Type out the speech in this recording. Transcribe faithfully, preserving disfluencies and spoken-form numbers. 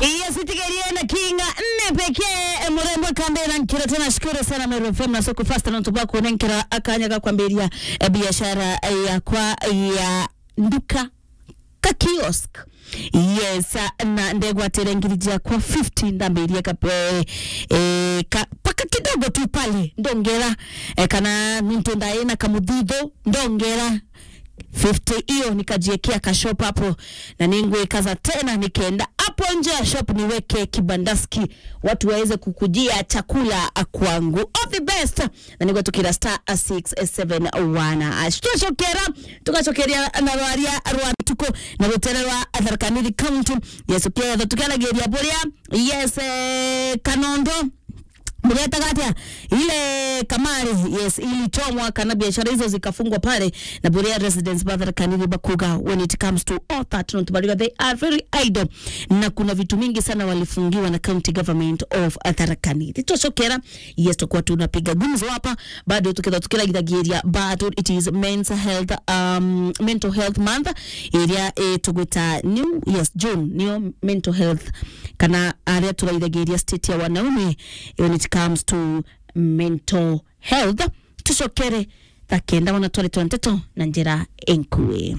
Yes, itigerie na kinga nne pekee, eh, murembo kambira nkiro tena. Shukuru sana Meru F M na Soko Fast na ntuba kunenkera akanya ga kwambiria, eh, biashara, eh, yakwa ya nduka ka kiosk. Yes, ah, na ndegwatire ngiri jiakwa fifty ndambirie ka, eh, eh, ka, paka kidogo tu pale ndongera, eh, kana nuntu ndaina kamuthithu ndongera fifty, iyo nikajiekea ka shop hapo, na ningwikaza tena nikenda hapo nje ya shop niweke kibandaski, watu waweze kukujia chakula kwangu. All the best. Na nigwetukira star six seven one hash. Twacokera, tugacokeria na rwaria rwa ntuku na rutere rwa Tharaka Nithi County. Yes, tukietha tukiaragiria buria, yes, eh, Kanondo. Mugetaga atia? Ile kamari, yes, ilichomwa kana biashara hizo zikafungwa pale, na buria residents ba Tharaka Nithi bakuga, when it comes to all that, nontu bariga they are very idle, na kuna vitu mingi sana walifungiwa na county government of Tharaka Nithi. Tucokera, yes, tukwa tunapiga gumzo hapa, bado tukitha tukiraithagiria, but it is men's health, um, mental health month, iria, eh, tugwita new, yes, June, niyo mental health, kana aria turaithagiria state ya wanaume when it comes to mental health. Tucokere thaa kenda wana twaritwa nteto na njira enkui.